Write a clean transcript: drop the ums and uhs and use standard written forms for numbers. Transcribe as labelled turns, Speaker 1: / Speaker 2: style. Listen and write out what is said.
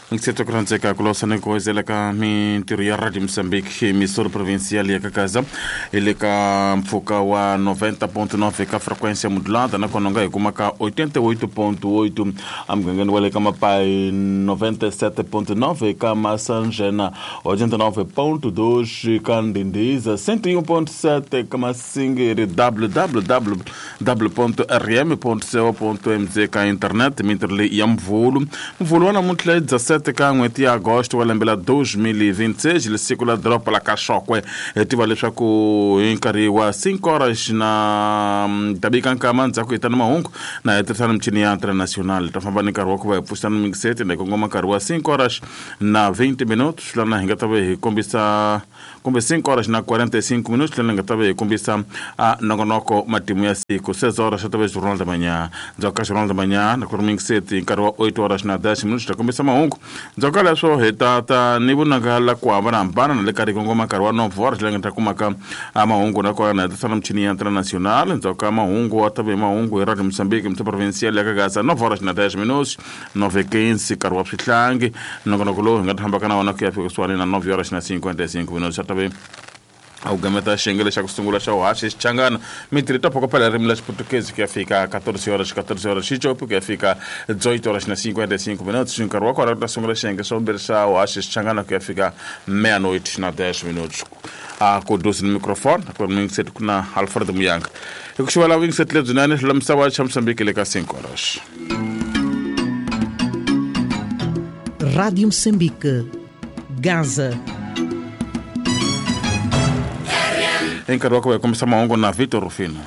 Speaker 1: Ngisete ku rhandzeka ku losa ni ku wezela ka mintirho ya Radio Mozambique Missouri Provincial ya Kakaza hi le ka mpfhuka wa 90.9 ka frequência modulada, nakona u nga hi kuma ka 88.8 emugangeni wa le ka Mapai, 97.9 ka Masanjena, 89.2 ka Ndindiza, 101.7 ka Masingiri, www.rm.co.mz ka internet. Mintirho leyi ya Mvulu, Mvulu wa namuntlha hi 17 ka n'hweti ya Agosto wa lembe la 2026, siku la doroba la ka Xokwe. Hi tiva leswaku hi nkarhi wa 5 horas na tabika nkama ndzhaku hi ta na mahungu na hi tirhisana michini ya international. Ta famba ni nkarhi wa ku va hi pfuxana mingiseti na hi kongoma nkarhi wa 5 horas na 20 minutos, lana hi nga ta va hi kombisa, kumbe 5 horas na 45 minutos, lana hi nga ta va hi kombisa nongonoko matimu ya siku. 6 horas ta va Jornal da Manhã. Ndzhaku ka Jornal da Manhã na ku ri mingiseti nkarhi wa 8 horas na 10 minutos ta kombisa mahungu. Ndzhaku ka leswo hi ta ta ni vunanga la ku hambanahambana na le ka ri kongoma nkarhi wa 9 horas, laha nga ta kumaka mahungu nakona na hi tirhisana michini ya international. Ndzhaku ka mahungu wa ta va hi mahungu hi Radio Mozambique Muthu Provincial ya Kagasa, 9 horas na 10 minutos, 9:15 nkarhi wa swihlangi. Nongonoko lowu hi nga ta fambaka na wona ku ya fika kusuhani na 9 horas na 55 minutos ta va a wu gameta xiyenge xa ku sungula xa uhaxi xichangana mintirho ta phokopela ririmi la Xiputukezi ku ya fika 14 horas, 14 horas xicopi ku ya fika 18 horas na 55 minutos. Nkarhi wa kona ku ta sungula xiyenge xa vumbirhi xa uhaxi xichangana ku ya fika meia-noite na 10 minutos. A ku dusi ni microphone ku ri mingiseti ku na Alfred Muyanga hi ku xivela vuyingiseti lebyinene hlula misava xa Mosambiki le ka 5 horas.
Speaker 2: Rádio Moçambique, Gaza.
Speaker 1: Hi nkarhi wa ku va hi kombisa mahungu na Vitor Rufino.